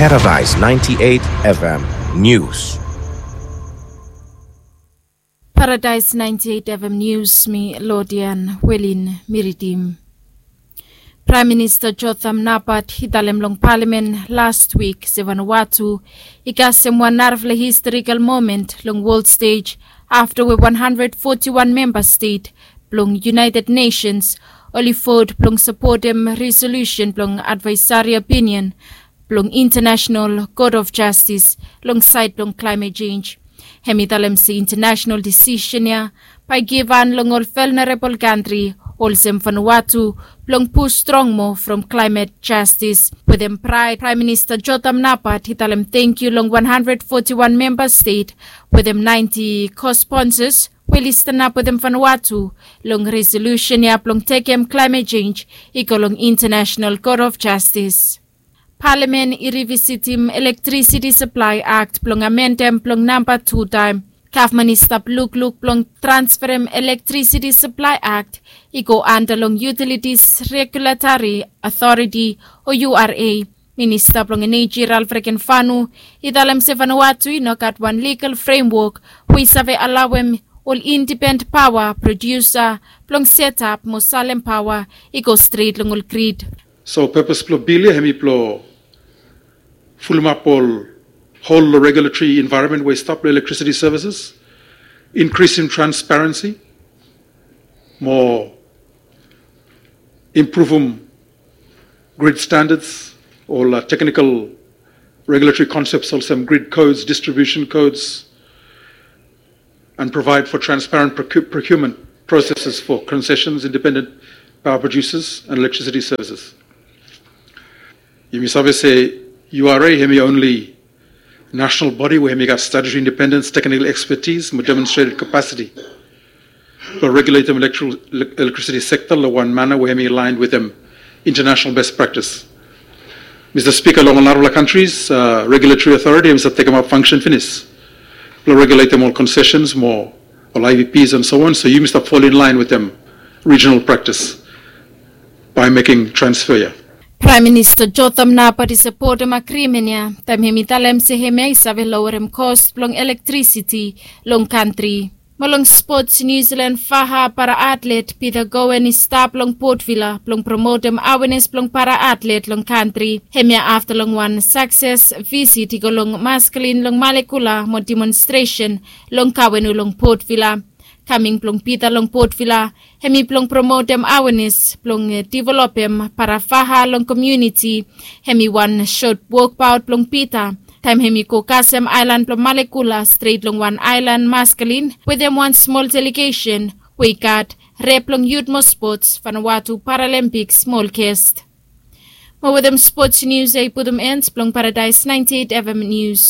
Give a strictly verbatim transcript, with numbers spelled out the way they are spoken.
Paradise ninety-eight F M News. Paradise ninety-eight F M News, mi Lodian Welin Miridim. Praem Minista Jotham Napat i talem long palamen last wik se Vanuatu i kasem wan narafala historikal momen long wol stej afta we wan handred foti wan memba stet blong United Nations oli vot blong sapotem resolusen blong advaesari opinion blong International Court of Justice long saed blong klaemet jenj. Hem i talem se intanasenal disisen ya bae i givhan long ol velnerabol kantri olsem Vanuatu blong pus strong moa from klaemet jastis. Wetem praed, Praem Minista Jotham Napat i talem tangkiu long wan handred foti wan memba stet wetem naenti kosponsas we oli stanap wetem Vanuatu long resolusen ya blong tekem klaemet jenj i go long International Court of Justice. Palamen i rivisitim Electricity Supply Act blong amendem blong namba tu taem. Gavman i stap lukluk blong transferem Electricity Supply Act i go anda long Utilities Regulatory Authority o U R A. Minista blong Eneji Ralph Regenvanu i talem se Vanuatu i no gat wan ligal fremwok we i save alawem ol indipendent paoa prodiusa blong setap mo salem paoa i go stret long ol grid. So purpose blong bil ya hemi blong fulumap ol hol long regulatory environment we i stap long electricity services, increasing transparency, mo impruvum grid standards, ol technical regulatory concepts olsem grid codes, distribution codes, and provide for transparent procurement processes for concessions, independent power producers, and electricity services. Yumi save se U R A hemi only national body we hemi gat statutory independence, technical expertise mo demonstrated capacity blong regulatem electricity sector long wan mana we hemi aligned wetem international best practice. Mista Spika, long ol narafala kantris regulatory authority hemi save tekemap fangsen finis blong regulatem ol concessions mo ol I V Ps and so on, so yumi stap fall in line wetem regional practice by making transfer ya. Praem Minista Jotham Napat i sapotem agrimen ya taem hemi talem se hemia i save lowerem kos blong electricity long kantri. Mo long spots, New Zealand faha para atlet Peter Gowen i stap long Port Vila blong promotem awenes blong para atlet long kantri. Hemia afta long wan sakses visit i go long Maskalin long Malekula mo demonstresen long Kawenu long Port Vila. Kaming blong Peter long Port Vila hemi blong promotem awenes blong developem para faha long komuniti. Hemi wan sot wokbaot blong Peter taem hemi go kasem aelan blong Malekula stret long wan aelan Maskalin wetem wan smol delegesen we i gat rep blong yut mo spots, Vanuatu Paralympic smol gest. Mo wetem spots nius ya i putum en blong Paradise ninety-eight F M Nius.